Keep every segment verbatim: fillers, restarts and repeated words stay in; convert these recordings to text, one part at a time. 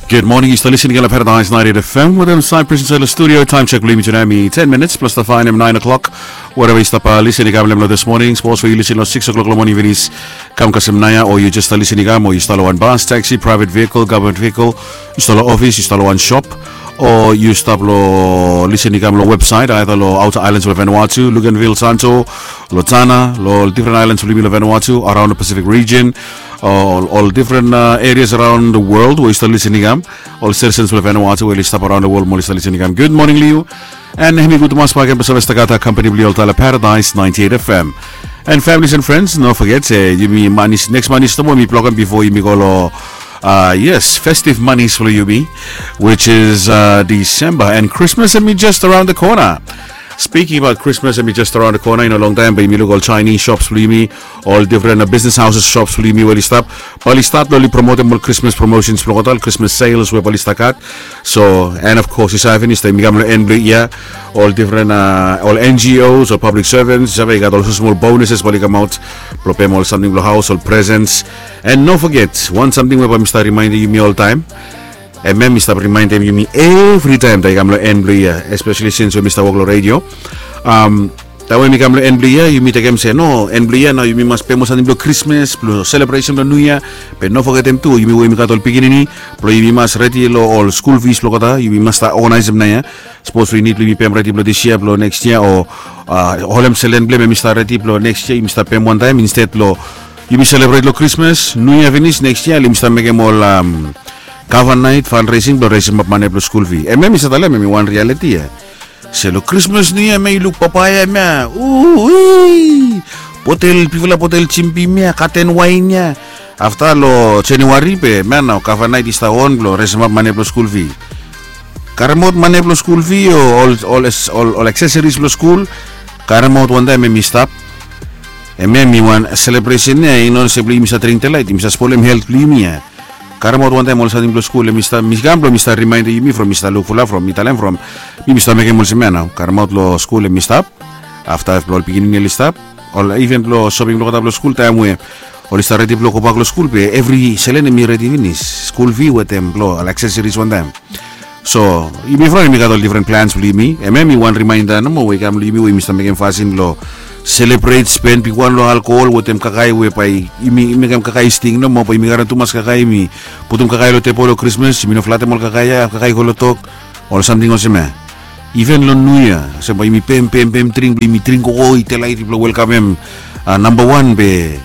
Gud moning, yu stap lisin i kam long Paradise ninety-eight F M wetem Cyprus insaed long studio. Taem sek blong yumi tunae hemi ten minits plus tafan hemi nine o'clock. Wereva yu stap lisin i kam long hem long this morning, sapos we yu lisin long six o'clock long moning finis, kam kasem naoia, o yu jes stap lisin i kam, o yu stap long wan bas, taxi, private vehicle, government vehicle, yu stap long ofis, yu stap long wan shop, o yu stap long lisin i kam long website, aether long outer islands blong Vanuatu, Luganville, Santo, long Tanna, long ol different islands blong yumi long Vanuatu, around the Pacific region, ol ol different uh, areas around the world we yu stap lisin i kam, ol citizens blong Vanuatu we oli stap around the world mo oli stap lisin i kam. Gud moning long yu. And hemi gud tumas bakegen blong save stap gat company blong yu oltaem long Paradise ninety-eight F M. And families and friends, no forget se yumi manis, next manis nomo yumi blokem bifo yumi go long, uh, yes, festive manis blong yumi, which is uh, December, and Christmas hemi just around the corner. Speaking about Christmas, hemi just around the corner. I no longtaem bae yumi luk ol Chinese shops blong yumi, ol different uh, business houses shops blong yumi we oli stap, bae oli stat long oli promotem ol Christmas promotions blong olgeta, ol Christmas sales we bae oli stap gat. So, and of course, yu save finis taem yumi kam long en blong yia, ol different uh, ol N G Os, ol public servants, yu save i gat ol smosmol bonuses bae oli kamaot blong pem ol samting blong haos, ol presents. And no forget wan samting we bae mi stap rimaendem yumi oltaem, hemia mi stap rimaendem yumi evritaem taem i kam long en blong yia, especially since we mi stap wok long radio. Um, taem we mi kam long en blong yia, yumi tekem se no, en blong yia nao yumi mas pem ol samting blong Krismas, blong selebresen blong Niu Yia. Be no fogetem tu yumi we yumi gat ol pikinini, blong yumi mas redi long ol skul fis blong olgeta, yumi mas stap oganaesem naoia. Sapos we i nid blong yumi pem redi blong dis yia, blong neks yia, o uh, holem selen blong hem hemi stap redi blong neks yia, yumi stap pem wantaem instead blong yumi selebret long Krismas, Niu Yia finis, neks yia oli yumi stap mekem ol um, Kava Naet, fundraising blong resemap mane blong skul fi. Hemia mi save talem hemi wan reality ia. Se long Krismas, Niu Yia, hemia yu luk papaea hemia, ui, botel, bigfala botel Jim Beam ia, katen waen ia. Afta long January be hemia nao Kava Naet i stap on blong resemap mane blong skul fi. Karemaot mane blong skul fi o ol, ol, ol, ol aksesoris blong skul, karemaot wantaem hemi stap. Hemia hemi wan selebresen ia, i no se blong yumi stap dring delaet, yumi stap spolem helt blong yumi ia. Karemaot wantaem ol samting blong skul, hemi stap, mi kam blong mi stap rimaendem yumi from mi stap luk fulap, from mi talem from mi, mi stap mekem olsem ia nao, karemaot long skul hemi stap. Afta blong ol pikinini oli stap, ol even blong soping blong olgeta blong skul taem we oli stap redi blong gobak long skul, be evri selen hemi redi finis, skul fi wetem blong ol aksesoris wantaem. So yumi from yumi gat ol different plans blong yumi. Hemia hemi wan rimaenda nomo we i kam long yumi we yumi stap mekem fasin blong selebret, spen bigwan long alkohol wetem kakae we bae yumi mekem kakae sting nomo, bae yumi karem tumas kakae, yumi putum kakae long tebol long Krismas, yumi no flatem ol kakae ia, kakae i go long tok, ol samting olsem ia. Even long Niu Yia, olsem bae yumi pem, pem, pem dring blong yumi dring koko i delaet blong welkamem uh, namba wan, be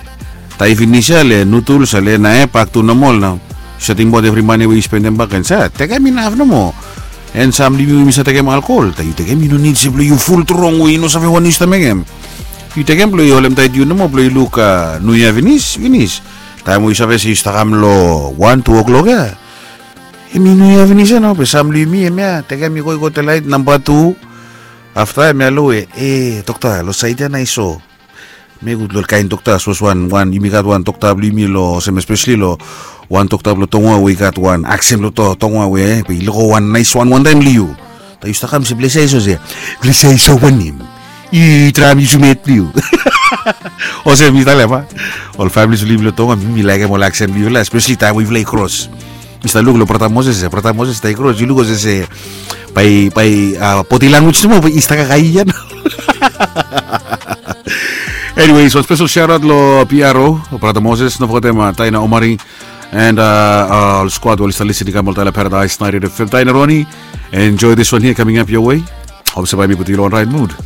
taem i finis ia le nuduls ia le nae bak tu nomo nao. Yu save tingbaot evri mane we yu spendem bakegen, sa tekem inaf nomo. And sam blong yumi we yumi save tekem alkohol, taem yu tekem i no nid se blong yu ful trong we yu no save wanem yu stap mekem. Yu tekem blong yu holem taet yu nomo blong yu luk uh, Niu Yia finis, finis. Taem we yu save se yu stap kam long wan, tu o'clock ia, hemi Niu Yia finis ia nao, be sam blong yumi hemia tekem i go, i go delaet namba tu. Afta hemia lo we, e, dokta, long saed ia nao i so. Hemi gud long ol kaen dokta, sapos wan, wan, yumi gat wan dokta blong yumi long, olsem especially long wan dokta blong Tonga we i gat wan aksen blong To-, Tonga we, e, be i luk wan naes wan wantaem long yu. Taem yu stap kam se, bless ya, i so se, bless ya, i so wanem? I traem yusum het blong yu. Olsem mi talem a, ol families blong yumi long Tonga, mi, mi laekem ol aksen blong yufala, especially taem we yufala i kros. Mi stap luk long brata Moses, e, brata Moses taem i kros, yu luk olsem se bae, bae, a, body language nomo bae i stap kakae ia nao. Anyways, wan spesel shout out long P R O, brata Moses, no fogetem, a, Taina Omari, and, a, ol squad we oli stap lisin i kam oltaem long Paradise ninety-eight F M. Taina Roni, enjoy this one here coming up your way. Hop se bae mi putum yu long wan right mood.